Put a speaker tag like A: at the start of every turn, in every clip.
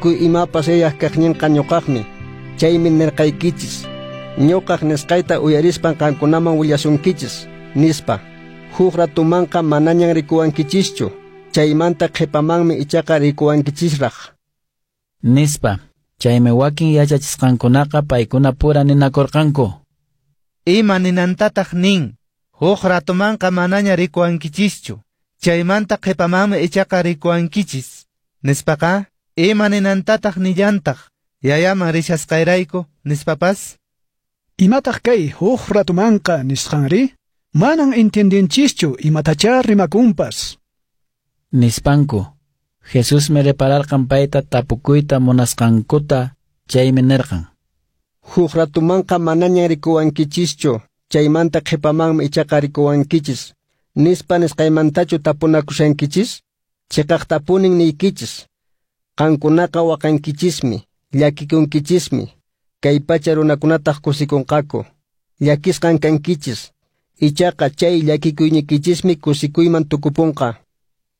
A: Tukuy imapas Yayaq kaqninqa ñuqaqmi. Chaymi nirqaykichis, ñuqaq nisqayta uyarispan qankunaman willasunkichis, nispa. Huk ratumanqa manañan rikuwankichischu, chaymanta qhipamanmi ichaqa rikuwankichisraq.
B: Nispa. Chaymi wakin yachachisqankunaqa paykuna pura ninakurqanku.
C: Ima ninantataq nin, huk ratumanqa manaña rikuwankichischu, chaymanta qhipamanmi ichaqa rikuwankichis, nispaqa, ima ninantataq nillantaq, yayaman rishasqayrayku, nispapas?
D: Imataq kay huk ratumanqa nisqanri? Manan entiendenchischu imatachá rimakunpas.
B: Nispanku. Jesusmi repararqan payta tapukuyta munasqankuta, chaymi nirqan.
A: Huk ratumanqa manañan rikuwankichischu, chaymanta qhipamanmi ichaqa rikuwankichis, nispa nisqaymantachu tapunakushankichis? Chiqaqtapunin niykichis. Qankunaqa waqankichismi, llakikunkichismi, kay pacha runakunataq kusikunqaku. Llakisqan kankichis, ichaqa chay llakikuyniykichismi kusikuyman tukupunqa.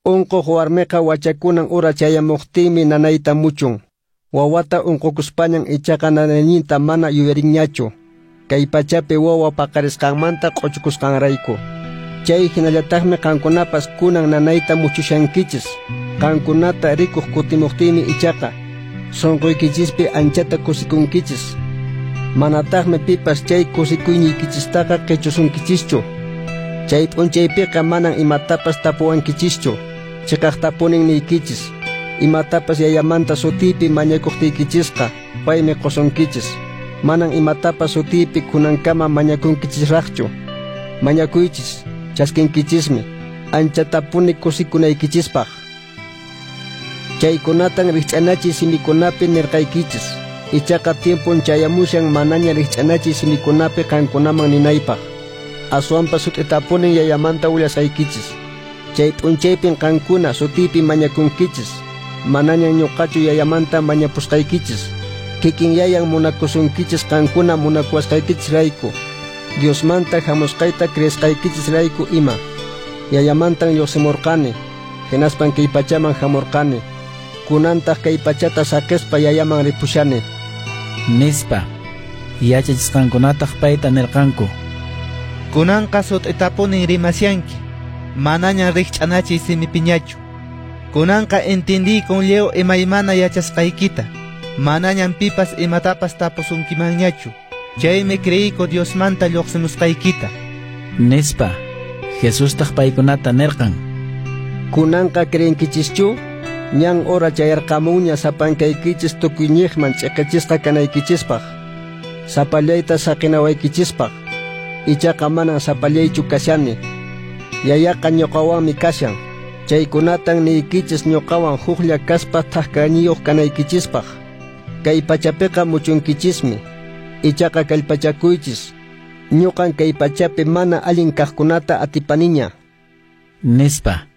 A: Unquq warmiqa wachakunan ura chayamuqtinmi nanayta muchun. Wawata unqukuspañan ichaqa nanayninta mana yuyarinñachu. Kay pachapi wawa paqarisqanmanta q'uchukusqanrayku. Chay hinallataqmi qankunapas kunan nanayta muchushankichis. Qankunata rikuq kutimuqtinmi ichaqa sunquykichispi anchata kusikunkichis. Manataqmi pipas chay kusikuyniykichistaqa qichusunkichischu. Chay p'unchaypiqa manan imatapas tapuwankichischu. Chiqaqtapunin niykichis. Imatapas yayamanta sutiypi mañakuqtiykichisqa paymi qusunkichis. Manan imatapas sutiypi kunankama mañakunkichisraqchu. Mañakuychis, chaskinkichismi, anchatapuni kusikunaykichispaq. Chaykunatan rikch'anachiy simikunapi nirqaykichis. Ichaqa tiempon chayamushan manaña rikch'anachiy simikunapi qankunaman ninaypaq. Aswanpas sut'itapunin yayamanta willasqaykichis. Chay p'unchaypin qankuna sutiypi mañakunkichis. Manañan ñuqachu yayamanta mañapusqaykichis. Kikin yayan munakusunkichis qankuna munakuwasqaykichisrayku. Diosmanta hamusqayta creesqaykichisrayku ima. Yayamantan lluqsimurqani, hinaspan kay pachaman hamurqani. Kunantaq kay pachata saqispa yayaman ripushani.
B: Nispa. Yachachisqankunataq payta nirqanku.
C: Kunanqa sut'itapunin rimashanki, manañan rikch'anachiy simipiñachu. Kunanqa entendiykun lliw imaymana yachasqaykita, manañan pipas imatapas tapusunkimanñachu. Chaymi creeyku Diosmanta lluqsimusqaykita.
B: Nispa. Jesustaq paykunata nirqan.
A: Kunanqa creenkichischu? Ñan hora chayarqamunña sapankaykichis tukuyñiqman ch'iqichisqa kanaykichispaq. Sapallayta saqinawaykichispaq. Ichaqa manan sapallaychu kashani. Yayaqa ñuqawanmi kashan. Chaykunatan niykichis ñuqawan huklla kaspa thak-kayniyuq kanaykichispaq. Kay pachapiqa muchunkichismi. Ichaqa kallpachakuychis. Ñuqan kay pachapi mana allin kaqkunata atipaniña.
B: Nispa.